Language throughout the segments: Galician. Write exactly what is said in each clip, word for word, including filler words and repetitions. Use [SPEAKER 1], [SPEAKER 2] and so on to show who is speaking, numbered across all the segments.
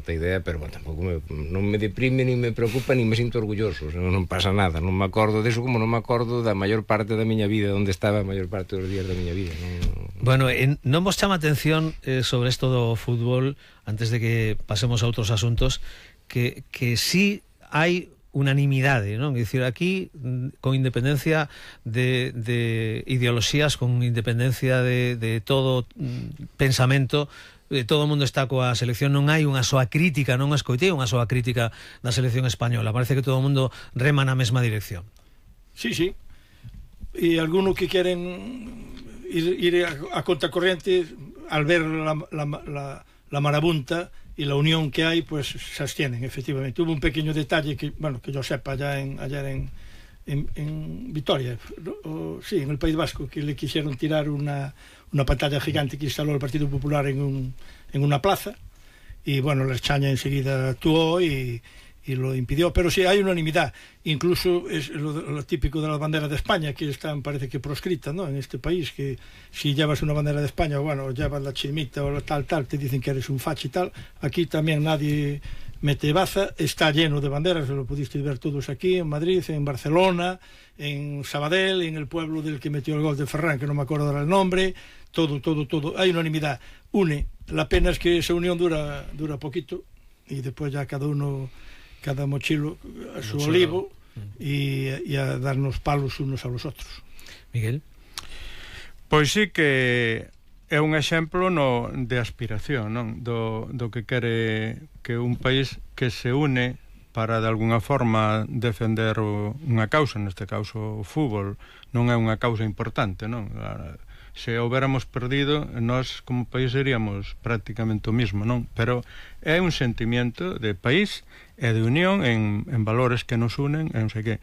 [SPEAKER 1] certa idea, pero bueno, tampouco me, non me deprime, nin me preocupa, nin me sinto orgulloso. Non, non pasa nada, non me acordo deso como non me acordo da maior parte da miña vida, onde estaba a maior parte dos días da miña vida. Non...
[SPEAKER 2] Bueno, en, non vos chama atención eh, sobre isto do fútbol, antes de que pasemos a outros asuntos, que, que sí hai unanimidade, non? É dicir, aquí, con independencia de, de ideoloxías, con independencia de, de todo pensamento, eh, todo o mundo está coa selección, non hai unha soa crítica, non escoitei unha soa crítica da selección española, parece que todo o mundo rema na mesma dirección.
[SPEAKER 3] Sí, sí, e algunos que queren ir, ir a, a contracorriente al ver la, la, la, la marabunta y la unión que hay, pues se abstienen, efectivamente. Hubo un pequeño detalle que, bueno, que yo sepa, allá en, ayer en, en, en Vitoria, o, sí, en el País Vasco, que le quisieron tirar una, una pantalla gigante que instaló el Partido Popular en, un, en una plaza, y bueno, la España enseguida actuó y, y lo impidió, pero sí hay unanimidad. Incluso es lo, lo típico de las banderas de España, que están, parece que proscritas, ¿no?, en este país, que si llevas una bandera de España, bueno, llevas la chimita o la tal, tal, te dicen que eres un facho y tal. Aquí también nadie mete baza, está lleno de banderas, lo pudiste ver todos aquí, en Madrid, en Barcelona, en Sabadell, en el pueblo del que metió el gol de Ferran, que no me acuerdo ahora el nombre, todo, todo, todo, hay unanimidad, une. La pena es que esa unión dura, dura poquito, y después ya cada uno, cada mochilo a su mochilo. Olivo, y, y a darnos palos unos a los otros.
[SPEAKER 2] Miguel?
[SPEAKER 4] Pois sí que é un exemplo no, de aspiración, non? Do, do que quere que un país que se une para de alguna forma defender o, unha causa, neste caso o fútbol, non é unha causa importante, non? Se houbéramos perdido, nós como país seríamos prácticamente o mismo, non? Pero é un sentimiento de país e de unión en, en valores que nos unen, e non sei que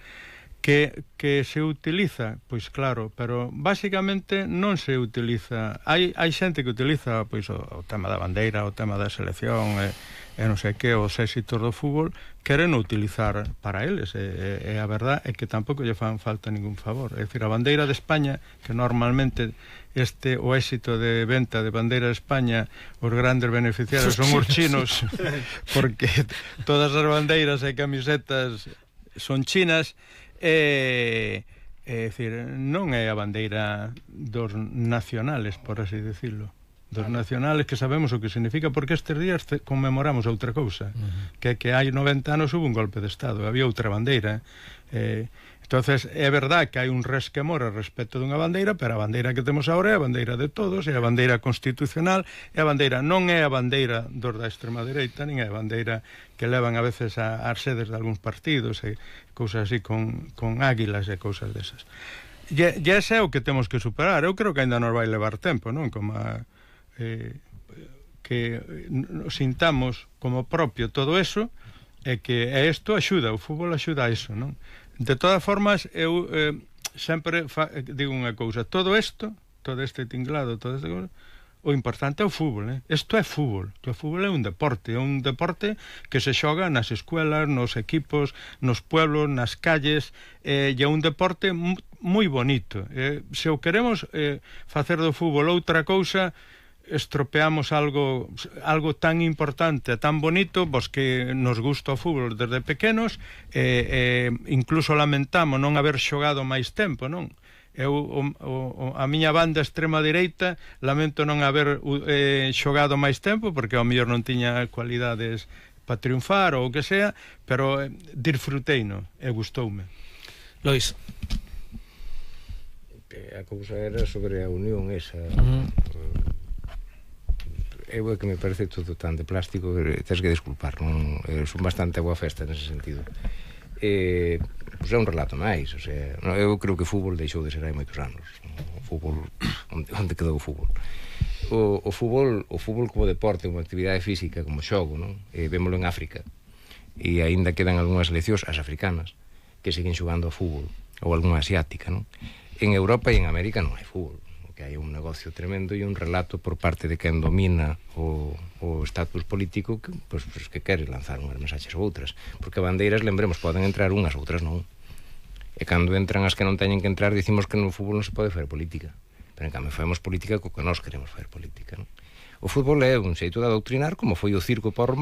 [SPEAKER 4] que, que se utiliza, pois claro, pero basicamente non se utiliza, hai, hai xente que utiliza pois o, o tema da bandeira, o tema da selección e, e non sei que, os éxitos do fútbol, queren utilizar para eles, e, e, e a verdad é que tampouco lle fan falta ningún favor. É dicir, a bandeira de España, que normalmente este o éxito de venta de bandeira de España, os grandes beneficiarios son os chinos, porque todas as bandeiras e camisetas son chinas. É, é dicir, non é a bandeira dos nacionales, por así decirlo, dos nacionales, que sabemos o que significa, porque estes días conmemoramos outra cousa, uh-huh. que que hai noventa anos hubo un golpe de Estado, había outra bandeira. eh, entonces é verdad que hai un resquemor ao respecto dunha bandeira, pero a bandeira que temos agora é a bandeira de todos, é a bandeira constitucional, é a bandeira, non é a bandeira dos da extrema dereita, nin é a bandeira que levan a veces a, as sedes de algúns partidos e cousas así con, con águilas e cousas desas. E, e ese é o que temos que superar. Eu creo que ainda nos vai levar tempo, non? Como a, eh, que nos sintamos como propio todo eso, e que e isto axuda, o fútbol axuda a iso, non? De todas formas, eu eh, sempre fa, digo unha cousa, todo isto, todo este tinglado, todo este cousa, o importante é o fútbol, eh? Isto é fútbol, o fútbol é un deporte, é un deporte que se xoga nas escuelas, nos equipos, nos pueblos, nas calles, eh, e é un deporte moi bonito. Eh, se o queremos eh, facer do fútbol outra cousa, estropeamos algo algo tan importante, tan bonito, pois que nos gusta o fútbol desde pequenos, e eh, eh, incluso lamentamos non haber xogado máis tempo, non? Eu, o, o, a miña banda extrema dereita, lamento non haber eh, xogado máis tempo, porque ao mellor non tiña cualidades para triunfar ou o que sea, pero eh, disfruteino e gustoume.
[SPEAKER 2] Lois?
[SPEAKER 1] A cousa era sobre a unión esa.
[SPEAKER 2] Uh-huh.
[SPEAKER 1] Eu é que me parece todo tan de plástico que tens que disculpar, non? Eh, son bastante boa festa nese sentido. Eh, pois é un relato máis, o sea, eu creo que o fútbol deixou de ser hai moitos anos. O fútbol, onde, onde quedou o fútbol? O, o fútbol, o fútbol como deporte, como actividade física, como xogo, non? Eh, vémolo en África. E aínda quedan algunhas seleccións, as africanas, que siguen xogando ao fútbol, ou algunha asiática, non? En Europa e en América non hai fútbol, que hai un negocio tremendo e un relato por parte de quen domina o, o estatus político que, pues, pues, que quere lanzar unhas mensaxes ou outras, porque bandeiras, lembremos, poden entrar unhas, outras non, e cando entran as que non teñen que entrar dicimos que no fútbol non se pode facer política, pero en cambio facemos política co que nós queremos facer política, non? O fútbol é un xeito de adoctrinar, como foi o circo para